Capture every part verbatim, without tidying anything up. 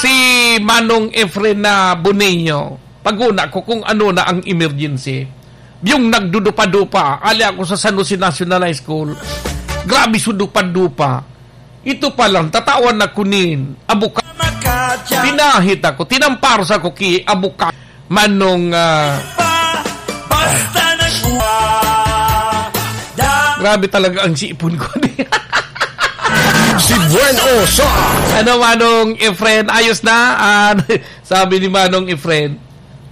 Si Manong Efren na Boneo, pag-una ko kung ano na ang emergency. Yung nagdudupa-dupa, ali ako sa San Jose National High School. Grabe su dupa-dupa. Ito pa lang, tatawan na kunin. Abuka. Pinahit ako, tinampar sa ko ki abuka. Manong, ah, Basta nagwa. Grabe talaga ang sipon ko. Si Buen Osa. Ano, Manong Efren? Ayos na? Ah, sabi ni Manong Efren,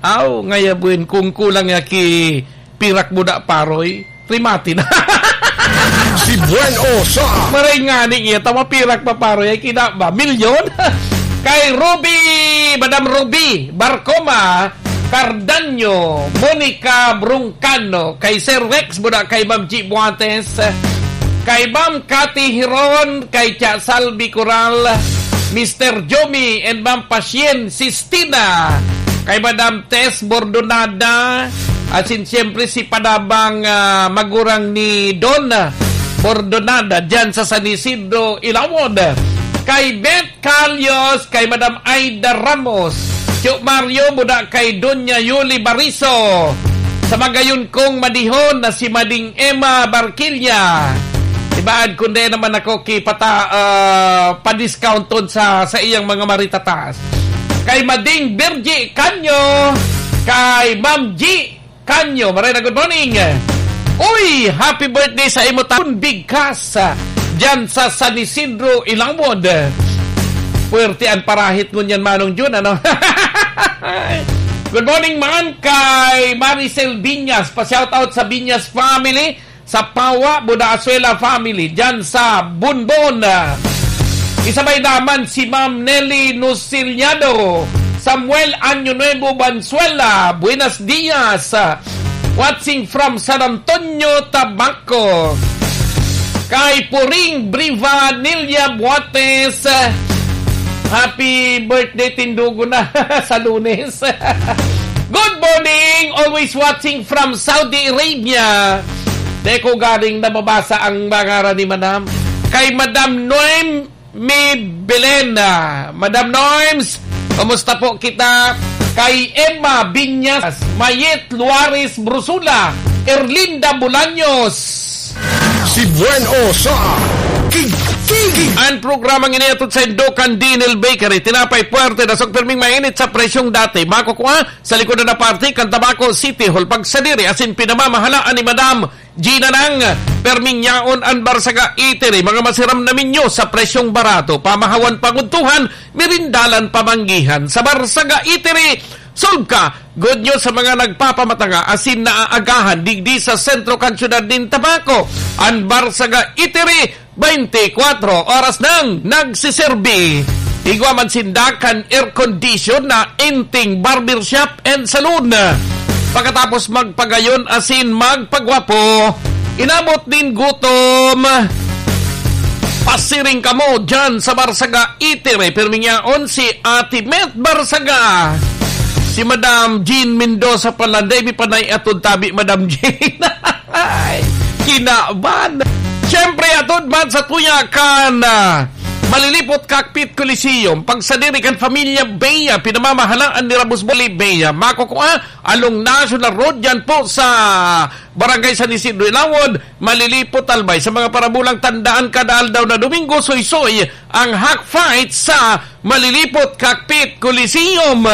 "Aw, ngaya, Buen, kung kulang ya ki pirak mo da, paroy, rimati na." Si Buen Osa. Maray nga ni iya, tama pirak pa, paroy, ay kina ba? Milyon? Kay Ruby, Madam Ruby Barcoma, Cardanyo, Monica Brungcano, kay Sir Rex Buda, kay Ma'am G Buates, kay Ma'am Cathy Hiron, kay Cha Salvi Coral, Mister Jomi, and Ma'am Pasien Sistina, kay Madam Tess Bordonada, asin siyempre si Padabang, ah, magurang ni Don Bordonada, dyan sa San Isidro, Ilawod, kay Beth Calios, kay Madam Aida Ramos, Tio Mario, Buda, kay Doña Yuli Bariso, sa magayon kong madihon na si Mading Emma Barquilla. Ibaad kundi naman ako kipata, ah, pa-discounton sa, sa iyang mga maritatas. Kay Mading Virgie Canyo, kay Ma'am G Canyo, maray na good morning. Uy, happy birthday sa imo, Taon Bigkas, ah, dyan sa San Isidro, Ilawod. Puwerte an parahit ngunyan, Manong Jun, ano? Good morning man kay Maricel Binyas. Pa-shoutout sa Binyas family, sa Pawa, Buda Azuela family, dyan sa Bunbon. Isabay naman si Ma'am Nelly Nuciliado, Samuel Año Nuevo Banzuela, buenos dias. Watching from San Antonio, Tabaco. Kay Puring Briva Nilia Buates, happy birthday, tindugo na sa Lunes. Good morning, always watching from Saudi Arabia. Di ko galing nababasa ang pangaran ni Madam. Kay Madam Noem Mi Belen, ah, Madam Norms, kumusta po kita? Kay Emma Binyas, Mayet Luares Brusula, Erlinda Bolaños. Si Buen Osa, King, King. Ang programang inihatod sa Indokan Dinil Bakery, tinapay puwerte na sog pirming mainit sa presyong dati. Makukua sa likod na parte kan Tabaco City Hall. Pagsadiri asin pinamamahalaan ni Madam Gina nang perming yaon an Barsaga Eatery, mga masiram na menyo sa presyong barato, pamahawan pangudtuhan, merindalan pamanggihan. Sa Barsaga Eatery, solve ka! Good news sa mga nagpapamatanga asin naaagahan digdi sa sentro kan syudad nin Tabaco. An Barsaga Eatery, twenty-four oras nang nagsiserbi. Igwa man sinda kan air condition na Inting Barbershop and Saloon. Pagkatapos magpagayon asin magpagwapo, inabot nin gutom. Pasiring kamo dyan sa Barsaga Eatery. Pirming yaon si Ate Met Barsaga. Si Madam Jean Mendoza pala, dai mi pa naiatod tabi, Madam Jean. Ay, kinaban. Siyempre, atod man sa tuya kan, ah, Malilipot Cockpit Coliseum. Pagsadiri kan Familia Bea, pinamamahalaan ni Rabos Boli Bea. Makukua along National Road, dyan po sa Barangay San Isidro Ilawod, Malilipot, Albay. Sa mga parabulang tandaan, kada aldaw na Domingo, soy-soy ang Hack Fight sa Malilipot Cockpit Coliseum.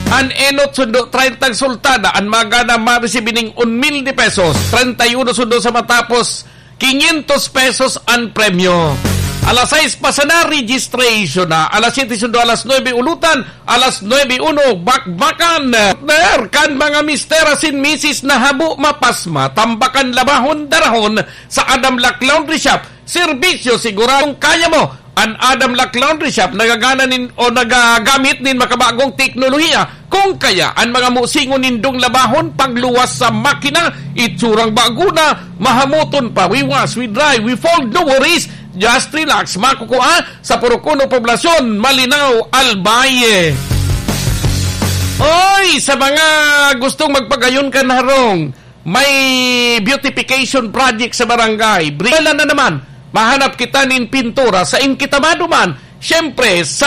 An enot sundo, treinta ang sultada. An magana, maresibi ning un mil de pesos. Treinta y uno sundo sa matapos, quinientos pesos an premyo. Alas sais pa sana, registration na. Alas siyete sundo, alas nuebe ulutan, alas nuebe uno, bakbakan. Partner, kan mga mister asin misis na habo mapasma, tambakan, labahon, darahon sa Adam Lac Laundry Shop. Serbisyo siguradong kaya mo. An Adam Lac Laundry Shop nagagana nin, o nagagamit nin makabagong teknolohiya. Kung kaya, an mga musingon nindong labahon, pagluwas sa makina, itsurang bago na, mahamoton pa. We wash, we dry, we fold, no worries. Just relax. Makukua sa Purok Uno Poblacion, Malinao, Albay. Oy, sa mga gustong magpagayon kan harong, may beautification project sa barangay. Brila na naman. Mahanap kita nin pintura sa Inkitamado man. Siyempre, sa